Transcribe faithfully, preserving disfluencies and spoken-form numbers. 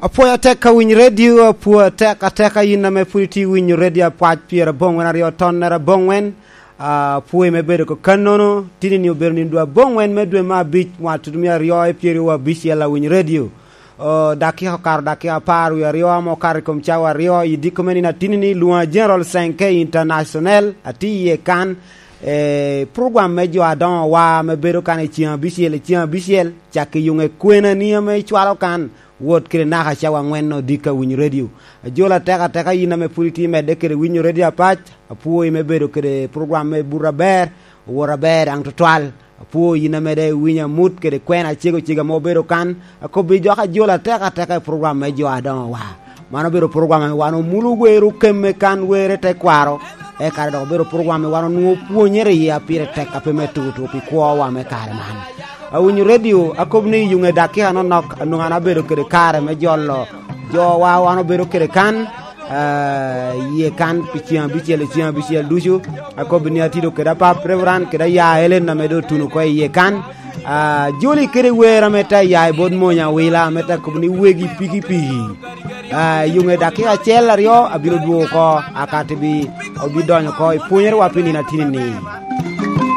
Apwoyo atek ka winy redio, apwoyo atek ateka yin ame pwod itye winyo redio apac pyerabongwen aryo tonnere abongwen. Apwoyo me bedo kakannono, tinini obedo nino dwe abongwen me dwe me abic, mwaka tutumia aryo i pyeraryo abicel awiny redio. O, dakika okato dakika apar wie aryo ame okato i kom cawa aryo i diko me nino atinini, lwoŋa General Senke International, atye iye kan, eh, program me jo adoŋo wa ame bedo kan i ceng abicel, i ceng abicel, cak i yuŋe kwenani ame icwalo kan, wot kede naka cawa angwen odiko awinyo redio. Ajolo atek ateka yin ame pwod itye medde kede winyo redio apac, apwoyi me bedo kede program me buto aber, owot aber daŋ tutwal. Apwoyi yin ame daŋ iwinyo amut kede kwena acego cego ame obedo kan, akobbi jok ajolo atek ateka i program me jo adoŋo wa. Man obedo program ame wan omulo wero kemme kan were te kwaro, eka dok obedo program ame wan onwoŋo pwonyere iye a pire tek a pe me tutu pi kwowa me kare man. Awinyo redio, akobo ni i yuŋe dakika nonok, anwoŋo an abedo kede kare me jolo jowa, wan obedo kede kan, ah, iye kan pi ceng abicel i ceng abicel ducu. Akobo ni atido kede apap Reverend kede aya Ellen ame doŋ otuno oko iye kan. Ah, joli kede wer ame te ya i bot mony awila, ame te kobo ni wegi pikipiki. Ah, i yuŋe dakika acel aryo abino dwogo oko, aka te bi, obidonyo oko i pwonyere wa pi nino atinini.